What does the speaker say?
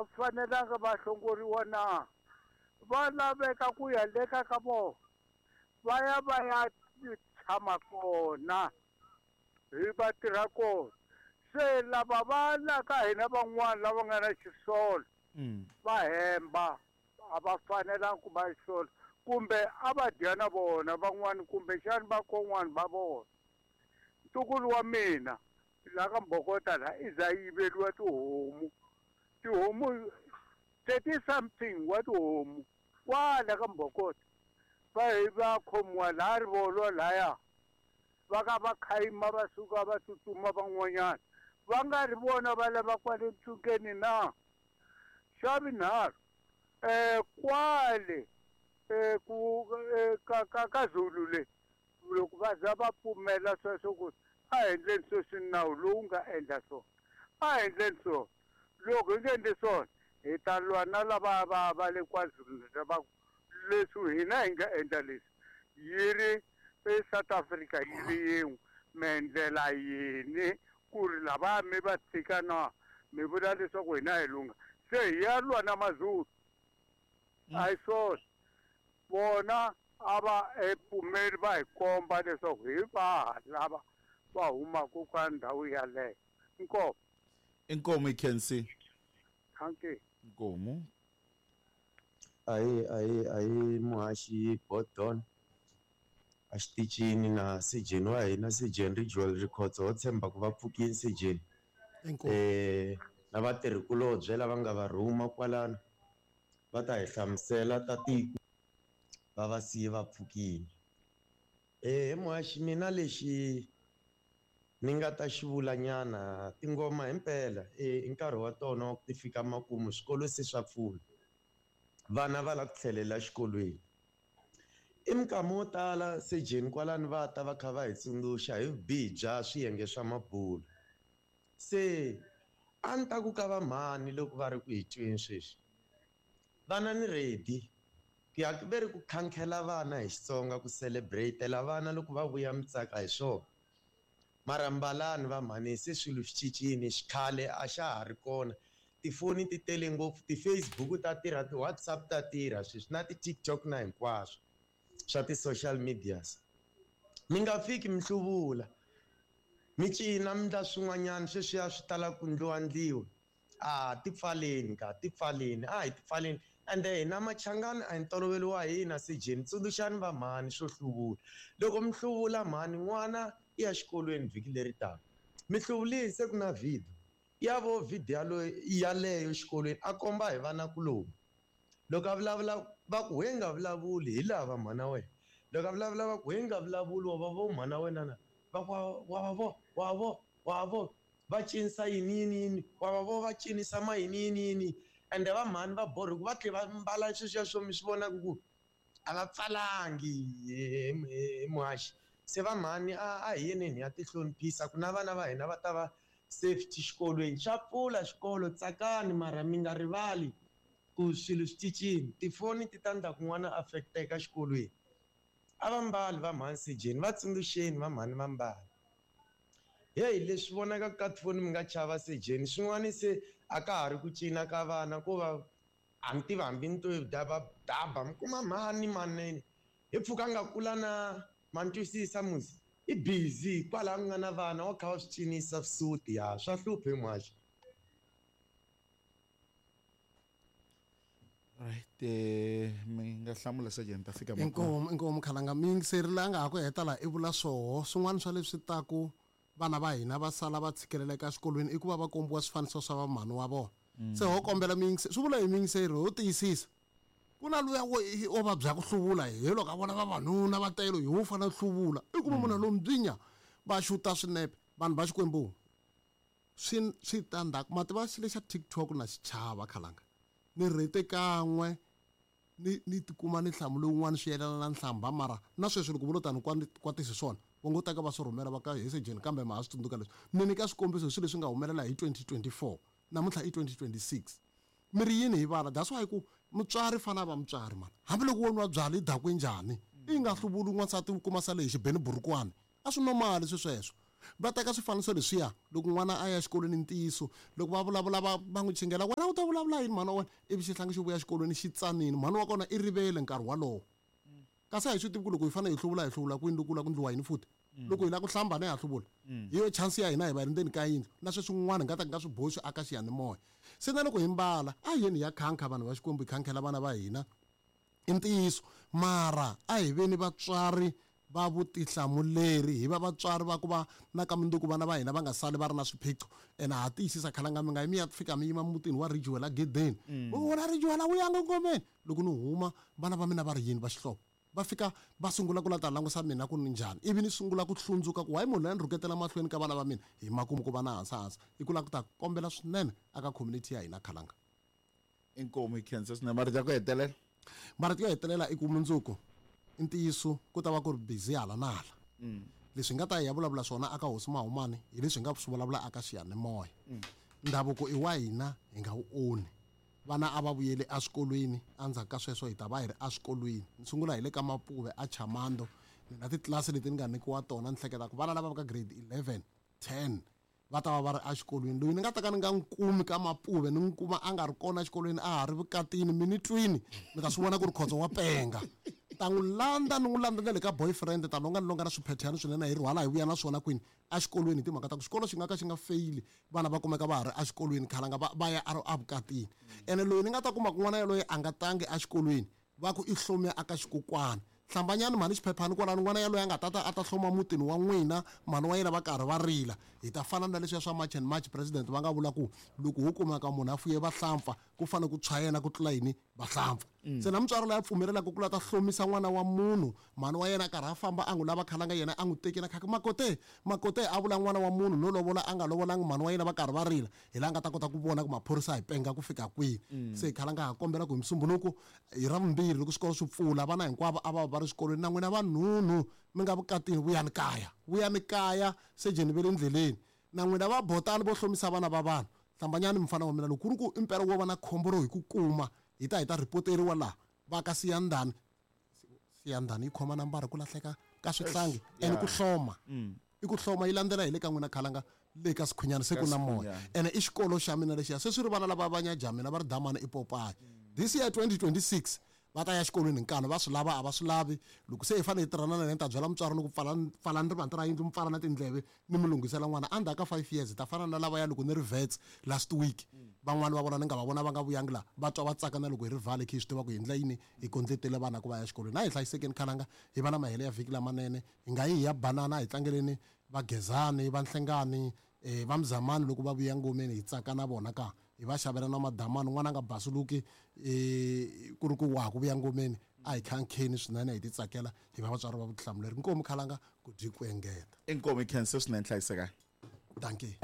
va fanelanga va hlongoriwa na? Va laveka ku ya leka ka vona, va ya va ya tshama kona, hi va tirha kona. Se lava va la ka hina van'wana lava nga na xisolo, va hemba, a va fanelanga ku va xisolo, kumbe a va dya na vona van'wana, kumbexani vakon'wana va vona. Ntukulu wa mina la ka Mbokota la i za yiveriwa tihomu, tihomu 30 something wa tihomu kwala ka Mbokota, va hi va khomiwa laha Rivolo laya, va ka va khayima va suka va tsutsuma van'wanyana, va nga ri vona va lava kwale ntsungeni na. Xa vunharhu, kwale ku ka, ka, ka Zulu le, loko va za va pfumela sweswo ku a hi endleni sweswi nawu lowu nga endla swona, a hi endleni swona. Loko hi nga endli swona, hi ta lwa na lava va le KwaZulu va ku leswi hina hi nga endla leswi, yi ri eSouth Africa yi ri yin'we, mi endlela yini ku ri lava mi va tshika na mi vula leswaku hina hi lungha, se hi ya lwa na Mazulu. A hi swona. Vona a va pfumeli va hi komba leswaku hi vaha lava va humaka ka ndhawu yaleyo. Inkomu. Inkomu i Khensi. Thank you. Inkomu. Ahi, ahi, ahi muhaxi Bodon. A xitichini na sejeni wa hina, sejeni Rijwel Rikhotso, ho tshemba ku va pfukile sejeni. Inkomu. Na vatirhikulobye lava nga va rhuma kwalano va ta hi hlamusela ta tiko va va siye va pfukile. He muhaxi, mina lexi ni nga ta xi vula nyana, tingoma himpela, i nkarhi wa tona wa ku ti fika makumu, swikolo se swa pfula, vana va lava ku tlhelela exikolweni. I minkama wo tala sejeni kwalano va ta va kha va hi tsundzuxa hi vubihi bya swiyenge swa mabulo. Se a ni ta ku ka va mhani loko va ri ku hi tweni sweswi, vana ni ready ku ya ve ri ku khankhela vana hi Xitsonga, ku celebrate-ela vana loko va vuya mitsaka hi swona. Mara mbalani va mhani, se swilo swi cincile, xikhale a xa ha ri kona. Tifoni ti tele ngopfu, ti-Facebook ta tirha, ti-WhatsApp ta tirha sweswi, na ti-TikTok na hinkwaswo swa ti-social medias. Mi nga fiki mi hluvula, mi cina, mi ndla swin'wanyana sweswiya swi tala ku ndliwa ndliwa. A ti pfaleni ka, ti pfaleni, a hi ti pfaleni. Ende hina Machangani a hi ntolovelo wa hina sejeni, tsundzuxani va mhani swo hluvula. Loko mi hluvula mhani, n'wana i ya xikolweni vhiki leri taka, mi hluvulile se ku na video ya vo video yaleyo xikolweni, a komba hi vanakuloni. Loko a vulavula va ku we nga vulavuli hi lava mhana wena, loko a vulavula va ku we nga vulavuli wa va vo mhana wena na, va ku wa va vo, wa vo, wa vo, va cinisa yini yini yini, wa va vo va cinisa ma yini yini yini. Ende va mhani va borha ku va tlhe va mbala sweswiya swo mi swi vonaka ku a va pfalangi hi muhaxi. Se va mhani a hi yeneni hi ya ti hloniphisa ku na vana va hina va ta va safety xikolweni. Xa pfula xikolo, tsakani, mara mi nga rivali ku swilo swi cincile. Tifoni ti ta ndla ku n'wana affecteka xikolweni. A va mbali va mhani sejeni, va tsundzuxeni va mhani va mbali. Hey, leswi vonakaka ka tifoni mi nga chava sejeni, swin'wana se a ka ha ri ku cina ka vana, ko va a ni tivi hambi ni to daba daba, mi kuma mhani manene hi pfuka nga kula na ma ni twisisa musi, i busy kwalaho ku nga na vana wa kha wa swi cinisa swisuti, ya swa hlupha hi muhaxi. Right, mi nga hlamula sejeni ta fika makumu. Inkomu, inkomu Khalanga, mi yingiseri la nga ha ku heta laha i vula swoho. Swin'wana swa leswi ta ku vana va hina va sala va tshikeleleka exikolweni i ku va va kombiwa swifaniso swa vamhani wa vona. Se ho kombela mi yingise, swi vula hi mi yingiseri, ho tiyisisa. Ku na luya wo o vabya ku hluvula, hi loko a vona vavanuna va tele hi wo fanele hluvula. I kuma munhu lowu mbyinya va xuta swinepe, vanhu va Xikwembu. Swi swi ta ndzhaku, ma tiva xilo xa TikTok na xichava Khalanga. Ni rhete kan'we ni ni tikuma ni hlamule wun'wana swi yelana na nhlamba, mara na sweswi loko vo lo tani kwatisi swona va ngo teka va swi rhumela va ka he sejeni, kambe ma ha swi tsundzuka leswi. Ni nyika swikombiso hi swilo leswi nga humelela hi 2024, namuntlha i 2026. Mi ri yini hi vana? That's why ku mutswari fana va mutswari mani, hambiloko wo nwa byala i dakwe njhani, i nga hluvuli n'wansati u kuma sale hi xibeni burukwani, a swi normal swi sweswo. Va teka swifaniso leswiya loko n'wana a ya exikolweni, ntiyiso loko va vulavula va n'wi chingela, wena u ta vulavula yini mhani wa wena? Ivi xihlangi xi vuya exikolweni xi tsanile, mhani wa kona i rivele nkarhi walowo. Kasi a hi swi tivi ku loko hi fanele hi hluvula, hi hluvula kwini, loko u lava ku ndliwa yini futhi. Loko hi lava ku hlamba, ne ha hluvula, hi yo chance ya hina hi va hi ri ndzeni ka yindlu, na sweswin'wana hi nga ta nga swi boxi aka xiyanimoya. Se na loko hi mbala, a hi yeni hi ya khankha vanhu va Xikwembu, hi khankhela vana va hina, i ntiyiso. Mara a hi veni vatswari va vutihlamuleri, hi va vatswari va ku va na ka mundzuku vana va hina va nga sali va ri na swiphiqo. Ene ha tiyisisa, khalanga, mi nga yi mi ya fika mi yima mutini wa Ridgewell gedeni, wona Ridgewell a wu yanga ngomeni. Loko ni huma, vana va mina va ri yini va xihlovo, va fika va sungula ku la ta langusa mina ku ni njhani, ivi ni sungula ku hlundzuka ku why munhu loyi a ni rhuketela mahlweni ka vana va mina. Hi makumu ku va na hansi hansi i ku lava ku ta kombela swinene aka community ya hina, khalanga. Inkomu, hi khensa swinene. Marito ya ku hetelela? Marito yo hetelela i ku mundzuku, i ntiyiso, ku ta va ku ri busy hala na hala. Leswi hi nga ta hi ya vulavula swona aka hosi Mahumani hi leswi hi nga swi vulavula aka xiyanimoya. Ndhavuko i wa hina, hi nga wu onhi. Vana a va vuyeli eswikolweni, endzhaku ka sweswo hi ta va hi ri eswikolweni. Ni sungula hi le ka Mapuve a Chamando, ni na titlilasi leti ni nga nyikiwa tona, ni hleketa ku vana lava va ka grade 11, 10 va ta va va ri exikolweni. Loyi ni nga ta ka ni nga n'wi kumi ka Mapuve, ni n'wi kuma a nga ri kona exikolweni, a ha ri vukatini, mi ni twini, mi ta swi vona ku ri khotso wa penga. Ta n'wi landza, ni n'wi landza na le ka boyfriend, ta longa ni longa na swiphethyani swinene, hi rhwala hi vuya na swona kwini exikolweni, hi timhaka ta ku xikolo xi nga ka xi nga feyili, vana va kumeka va ha ri exikolweni, khalanga va ya evukatini. Ene loyi ni nga ta kuma kun'wana yaloye a nga tangi exikolweni, va ku i hlome aka xikokwana, hlambanyani mhani xiphephani kwalano, n'wana yaloye a nga tata a ta hloma mutini wa n'wina, mhani wa yena va karhi va rila. Hi ta fana na leswiya swa March and March, president va nga vula ku loko ho kumeka munhu a fuye vahlampfa, ku fanele ku tshwa yena ku tlula yini vahlampfa. Se na mutswari loyi a pfumelelaka ku la ta hlomisa n'wana wa munhu, mhani wa yena a karhi a famba a n'wi lava, khalanga, yena a n'wi tekile khaka makote makote, a vula n'wana wa munhu no lovola a nga lovolangi, mhani wa yena va karhi va rila, hi laha nga ta kota ku vona ku maphorisa hi penga ku fika kwihi. Se khalanga, ha kombela ku hi Musumbhunuku, hi Ravumbirhi, loko swikolo swi pfula, vana hinkwavo a va va ri swikolweni. Na n'wina vanhunhu mi nga vukatini, vuyani kaya, vuyani kaya, sejeni ve le ndleleni. Na n'wina va botani vo hlomisa vana va vanhu, hlambanyani mufana wa mina, loko ku ri ku impela wo va na khombo ro hi ku kuma, hi ta hi ta ripoteriwa laha va ka Siyandhani. Siyandhani yi khoma nambara ku lahleka ka swihlangi ene ku hloma i ku hloma yi landzela hi le ka n'wina, khalanga, le ka Sikhunyana se ku na moya. Ene i xikolo xa mina lexiya, se swi ri vana lava va nyaja mina va ri damani i popayi. This year 2026 va ta ya xikolweni hi nkani, va swi lava a va swi lavi. Loko se hi fanele hi tirhana na yena, ni ta byela mutswari ni ku pfala, pfalani rivanti ra yindlu, mi pfala na tindleve, ni mi lunghisela n'wana. Endzhaku ka 5 years hi ta fana na lavaya. Loko ni ri vets last week, van'wani va vona ni nga va vona va nga vuyangi laha, va twa va tsaka na loko hi ri vhale khe hi swi tiva ku hi endla yini, hi kondletele vana ku va ya xikolweni. A hi hlayisekeni, khalanga, hi va na mahele ya vhiki lamanene. Hi nga yi hi ya banana, hi tlangeleni Vagezani, va Nhlengani, va Mzamani loko va vuya ngomeni, hi tsaka na vona ka hi va xavela na madamani. N'wana a nga basuluki ku ri ku wa ha ku vuya ngomeni, a hi khankheni swinene, hi ti tsakela, hi va vatswari va vutihlamuleri. Inkomu, khalanga, ku dyi ku engeta. Inkomu, hi khense swinene, hlayisekani. Dankie.